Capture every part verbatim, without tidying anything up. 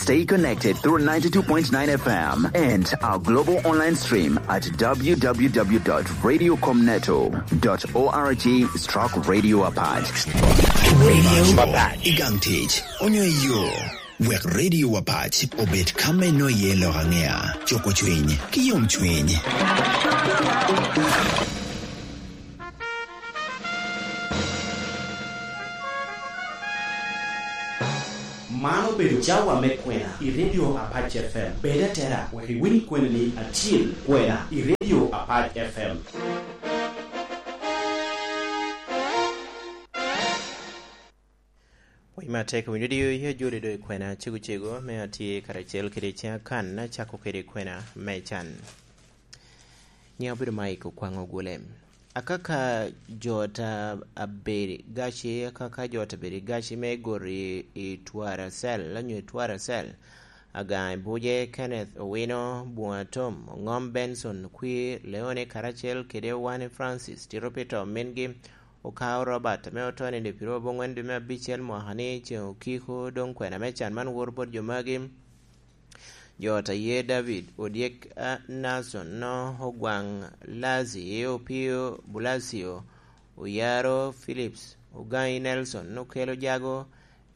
Stay connected through ninety-two point nine F M and our global online stream at w w w dot radio com neto dot org stroke radio apac. Radio Apac. Igang tic, onyo iyo. Wek Radio Apac obed ka me no iye lok aŋea, cuko cwiny, ki yom cwiny. Man obedo cawa me kwena i Radio Apac F M. Bed atera wek iwiny kweni acil kwena i Radio Apac F M. Pwony me atek winyo diyo i ajoli do i kwena cego cego, me atye karacel kede ceŋ akan, acako kede kwena me can. Nyiŋ obedo Mike Okwaŋ Ogule. Akaka jo ta abedi gaci, akaka jo ta abedi gaci me goro i, i Twaracel, onyo i Twaracel, Agaŋ i Buje, Kenneth Owino, Buŋa Tom, Oŋom Benson, Kwir Leone, karacel kede Wane Francis, tito pi to mingi, Okao Robert, ame oto nino i piro aboŋwen dwe me abicel mwaka ni, ceŋ okiko, doŋ kwena me can man woto bot jo magi. Jo ta ye David, Odyek, a, Nason, no, Ogwaŋ Lazi, Opio Bulacio, Oyaro Phillips, Ogaŋi Nelson, Okelo Jago,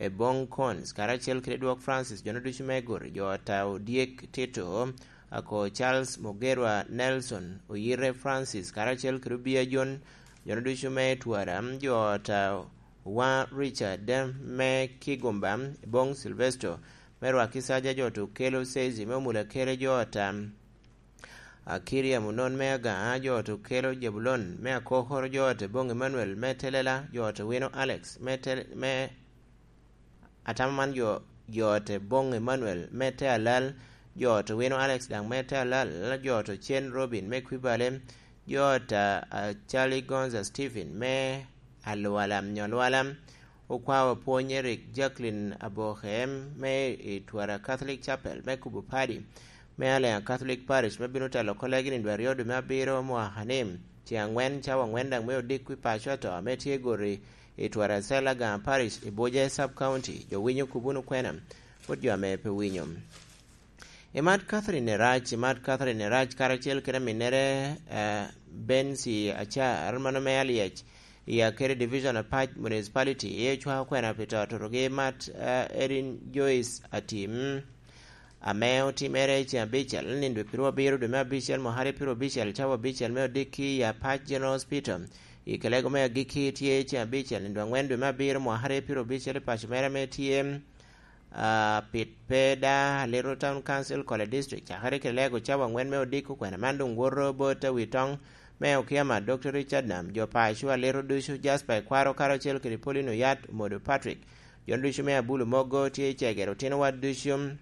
Ebong Cons, karacel kede Dwok Francis, jo ducu me goro, jo ta Odyek Tito, ako Charles Mugerwa Nelson, Oyite Francis, karacel kede Obia John, jo ducu me Twara, jo ta Owa Richard, me Kigumba, Ebong Silvesto, me Rwaki Saja, jo ta Okelo Sezi, me Omula Kere, jo ta Akiria Munon, me Agaŋa, jo ta Okelo Jebulon, me Akokoro, jo ta Ebong Emmanuel, me Telela, jo ta Wino Alex, me Tel-, me Atamo man jo, jo te Boŋ Emmanuel me te Alal, jo te Wino Alex daŋ me te Alal, jo te Cen Robin me Kwibale, jo te, ah, Charlie Gonza Stephen me Alwala, Nyolwala, Okwawa Pwony Eric, Jacqueline Aboke me i Twara Catholic Chapel me Kubo Padi, me Alea Catholic Parish me bino telo kolegi ni dwe aryo dwe me abiro mwaka ni, ceŋ aŋwen cawa aŋwen daŋ me odiko i paco ato ame tye gori i Twaracel, Agaŋa Parish, i Buje Sub County. Jo winyo, kub wunu kwena bot jo ame pe winyo. Imat Catherine Erac, imat Catherine Erac karacel kede aminnere, eh, Bensi Acar, mano me Alyec, i Akere Division Apac Municipality, i ocwako kwena pi to tutugi imat, eh, Erin Joyce Atim. Ame otimere i ceŋ abicel, nino dwe piru abiro dwe me abicel, mwaka aryo piru abicel, cawa abicel me odikki i Apac General Hospital. I kelego me agikki tye i ceŋ abicel, nino dwe aŋwen dwe me abiro, mwaka aryo piru abicel, i paco mere ame tye, ah, Pit Peda, Aliro Town Council, Kole District. Cakere kelego cawa aŋwen me odiko kwena man doŋ woto bot awi toŋ me Okiama, Doctor Richard Nam, jo paco Aliro ducu, Jasper Ekwaro, karacel kede Paulino Yat, Omodo Patrick. Jo ducu me Abulu Mogo tye i cegere, otino wa ducu.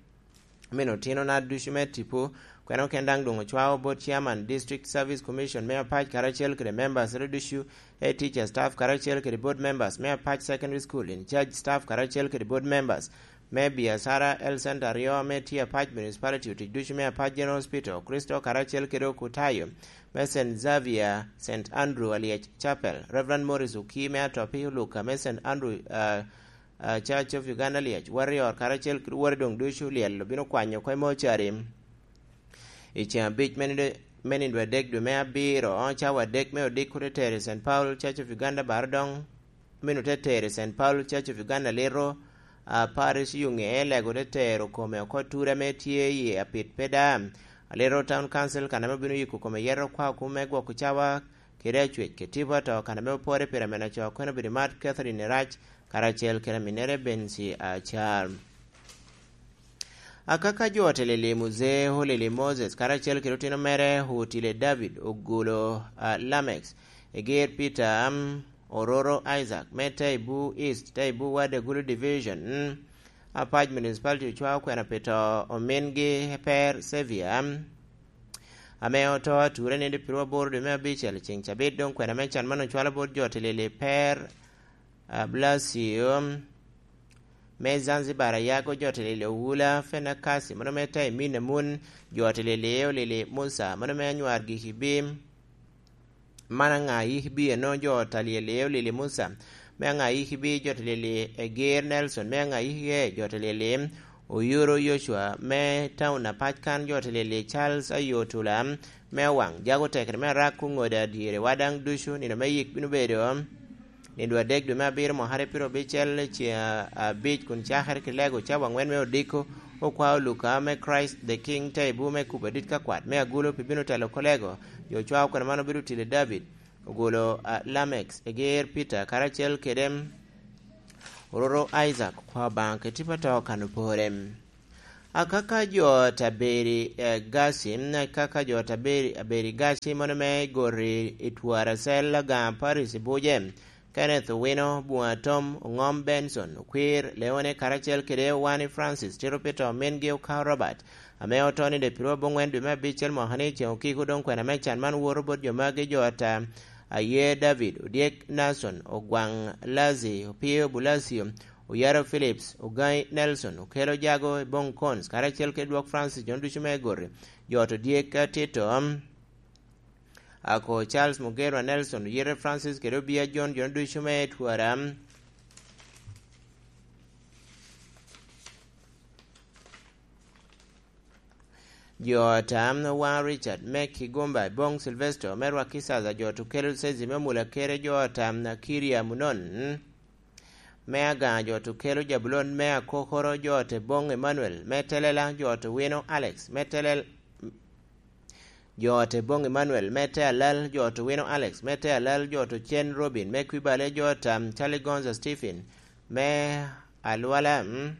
Meno otinona ducu me tipo, kwena oken daŋ doŋ ocwao bot Chairman District Service Commission me Apac karacel kede members re ducu, e teacher staff karacel kede board members me Apac Secondary School in charge staff karacel kede board members me Biacara Health Center aryo ame tye Apac Municipality, otic ducu me Apac General Hospital, Kristo karacel kede okutayo me Saint Xavier, Saint Andrew Alyec Chapel, Reverend Morris Oki me Atopi, Oluka me Saint Andrew, ah, ah, Church of Uganda Liec, Warrior, karacel kede wode doŋ ducu lyel obino kwanyo oko i mocari. I ceŋ abic me nindo, me nindo adek dwe me abiro, cawa adek me odiko te tero i Saint Paul Church of Uganda Barodoŋ, meno te tero i Saint Paul Church of Uganda Liro, ah, Parish Yuŋe, lego te tero kome oko ture ame tye i Apit Peda, Aliro Town Council, kan ame obino yiko kome yeto kwa kum me gwoko cawa kede acwec kede tipo ato, kan ame opore pire mene aco, kwene obedo Mat Catherine Erac, karacel kede aminnere Bensi Acar. Akaka jo oteleli Muzee Olili Moses, karacel kede otino mere Otile David, Ogulo, ah, Lamex, Eger Peter, am, Ororo Isaac, me Taibu East, Taibu Ward Agulu Division, mm, Apac Municipality ocwao kwena pi to omingi Per Xavier, am, ame oto ature nindo piru aboro dwe me abicel, ceŋ cabit doŋ kwena me can man ocwalo bot jo oteleli Per, ah, Blasio, me Zanzibar, Ayago, jo oteleli Owula Fenakasi, mano me Taimin Amun, jo oteleli Olili Musa, mano me Anywar Gikibi, man Aŋa Yikibi, eno jo oteleli Olili Musa, me Aŋa Yikibi, jo oteleli Eger Nelson, me Aŋa Yikie, jo oteleli Oyuro Yocwa me taun apac kan, jo te lili Charles Ayotula me Owaŋ, jago tekere me arak oŋodo adyere wa daŋ ducu. Nino me yik bino bedo nino adek dwe me abiro mwakare piro abicel, ceŋ abic kun cakere ki lego cawa aŋwen me odiko. Okwao Luka me Christ the King Taibu me kubo adit ka kwat me agulu pi bino telo kolego. Jo cwao kwena man obedo tili David, ogolo, a, Lamex, eger Peter, karacel kede ororo Isaac, okwao Obaŋa kede tipo ato kan opore. Akaka jo taberi, eh, gaci, akaka jo taberi, aberi gaci mono me gori i twara cel Agaŋa Paris i Buje, Kenneth Owino, Buŋa Tom, Oŋom Benson, Okwir, Leone, karacel kede Owani Francis, Tito Peter, omingi Okao Robert, ame oto ni de pirwa boŋwen dwe me abicel mwaka ni ceŋ okiko doŋ kwena me can man woto bot jo magi jo ata, Aye David, Odyek Nason, Ogwaŋ Lazi, Opio Bulasio, Oyaro Phillips, Ogai Nelson, Okelo Jago, Ibong Cons, karacel kede dwok Francis, jo ducu me Gori, jo ot Odyek Tito, Ako Charles Mugerwa Nelson, Oyite Francis, kede Obia John, jo ducu me Twara. Jo tam Owaŋ Richard, me Kigumba, Bong Sylvester, me Rwaki Saza, jo ot Okelo Sezi, me Mula Kere, jo tam Kiria Munon, me Agaŋa, jo ot Okelo Jabulon, me Akokoro, jo ot Bong Emmanuel, me Telela, jo ot Owino Alex, me Telel-, jo ot Bong Emmanuel, me Te Alal, jo ot Owino Alex, me Te Alal, jo ot Ocen Robin, me Kwibale, jo ot, um, Charlie Gonza Stephen, me Alwala, mm,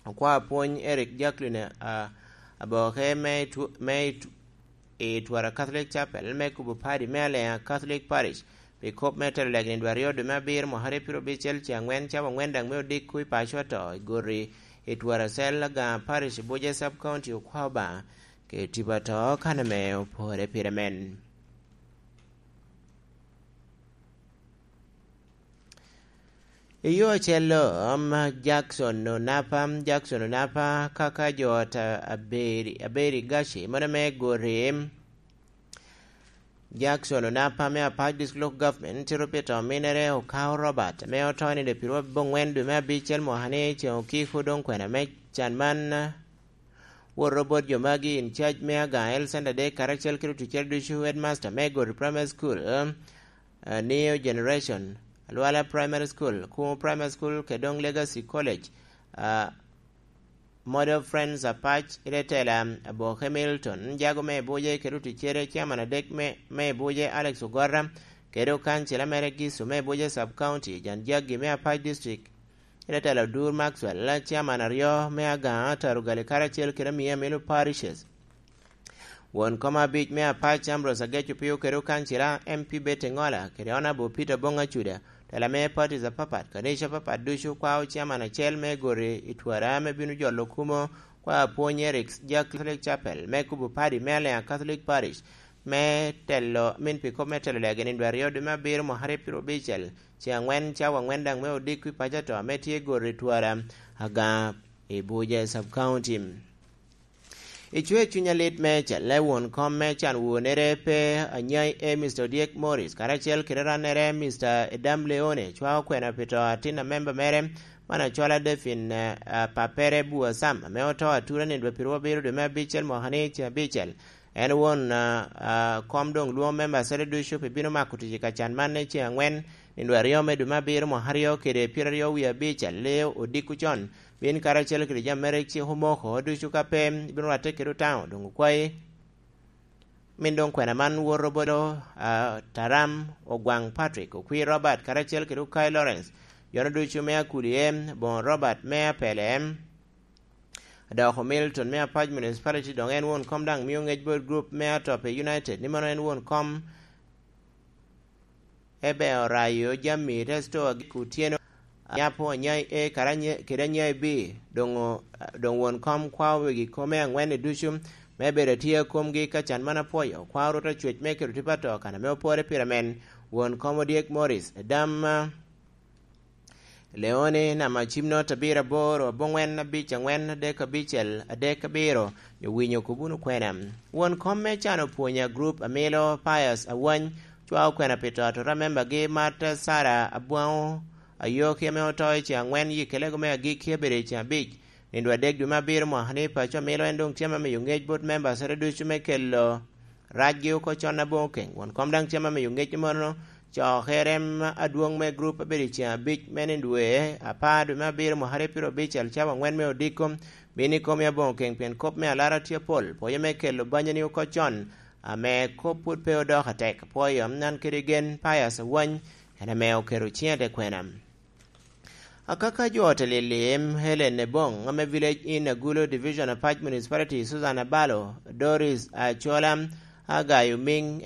Okwa Apwony Eric Jacqueline, a, Aboke, me Tw-, me Tw-, i Twara Catholic Chapel, me kubo padi me Aleŋa Catholic Parish, pi kop me telo lek nino aryo dwe me abiro mwaka aryo piro abicel ceŋ aŋwen cawa aŋwen daŋ me odiko i paco ato i Gori i Twara Cel Agaŋa Parish i Buje Sub County. Okwa Obaŋa kede tipo ato kan ame opore pire men. I yo acel-lo, um, Jackson Onapa, Jackson Onapa, kaka jo ot a-, aberi, aberi gaci, mono me Gori, Jackson Onapa me Apac District Local Government, tito pi to minere Okao Robert, ame oto nino piro abongwen dwe me abicel mwaka ni, ceŋ okiko doŋ kwena me can man, wot robot jo magi in charge me Agaŋa Health Center dek karacel kede oticere ducu, headmaster me Gori Primary School, uh, New Generation, Alwala Primary School, Kumo Primary School, kede doŋ Legacy College, uh, Model Friends Apac, Iretela Aboke Milton, jago me Buje kede oticere, chairman adek me, me Buje Alex Ogora, kede okancila mere Giso me Buje Sub County, Jan Jaggi me Apac District, Iretela Odur Maxwell, chairman aryo me Agaŋa, Tarugali karacel kede Miya Milo Parishes. Won kom abic me Apac Ambrose Ageco Pio kede okancila M P Betty Ngola kede Honorable Peter Bong Acuda, tela me parties apapat, kanica apapat ducu, kwao chairman acel me Gori i Twara ame bino jolo kumo, kwao apwony Eric Jack Catholic Chapel me kubo padi me Alea Catholic Parish, me telo, min pi kop me telo legi nino aryo dwe me abiro mwaka aryo piro abicel, ceŋ aŋwen cawa aŋwen daŋ me odiko i paco ato ame tye Gori i Twara, Agaŋa i Buje Sub County. I cwer cuny alit me calle won kom me can wonere pe anyai e Mister Odyek Morris, karacel kede rannere Mister Edam Leone, cwao kwena pi to atin a memba mere, man acola Defin, eh, ah, papere Bua Sam, ame oto atura nino dwe piro abiro dwe me abicel mwaka ni ce abicel. En won, ah, ah, kom doŋ lwoŋo memba acele ducu pi bino mako tic i kacan man i ceŋ aŋwen, nino aryo me dwe me abiro mwaka aryo kede pyeraryo wie abicel, le odiko con, bin karacel kede jami mere cik omoko ducu ka pe ibino rwatte kede Otaŋo, doŋ okwayi. Min doŋ kwena man woto bolo, ah, Taram Ogwaŋ Patrick, Okwir Robert, karacel kede Okai Lawrence, jono ducu me Akulie, Boŋo Robert me Apele, Adoko Milton me Apac Municipality, doŋ en won kom daŋ mio ŋec bot group me Atope United, ni mano en won kom Ebe Orayo, Jami Resto, Agik Otyeno, Anyapo, Anyai A, kara Anye-, kede Anyai B, doŋ o-, doŋ won kom kwao wegi kome aŋwen-ni ducu, me bedo atye a komgi ka can man apwoyo, kwao Rwot Acwec me kelo tipo ato kan ame opore pire men, won kom Odyek Morris, Edam, Leone, namba cim not abiro aboro, aboŋwen abic aŋwen, adek abicel, adek abiro, nyo winyo kop wunu kwena. Won kom me can opwonya group amilo Pius Awany, cwao kwena pi to atura membagi Martha Sarah Abwaŋo Ayoki ame oto i ceŋ aŋwen, yi kelego me agikki abedo i ceŋ abic. Nindo adek dwe me abiro mwaka ni paco milo en doŋ tye ame miyo ŋec bot membacere ducu me kelo racgi oko con aboŋo keny. Won kom daŋ tye ame miyo ŋec mono cokere adwoŋ me grup abedo i ceŋ abic me nindo dwe apar dwe me abiro mwaka aryo pyero abicel cawa aŋwen me odiko bino i kom i aboŋo keny pien kop me alara tye apol. Pwoyo me kelo banyani oko con ame kop pwod pe odok atek. Pwoyo nan kede gen Pius Awany en ame oketo ciŋe te kwena. Akaka jo ote lili em Helen Ebong ame Village in Agulo Division of Pac Municipality, Susan Abalo, Doris Achola, Agayo Ming,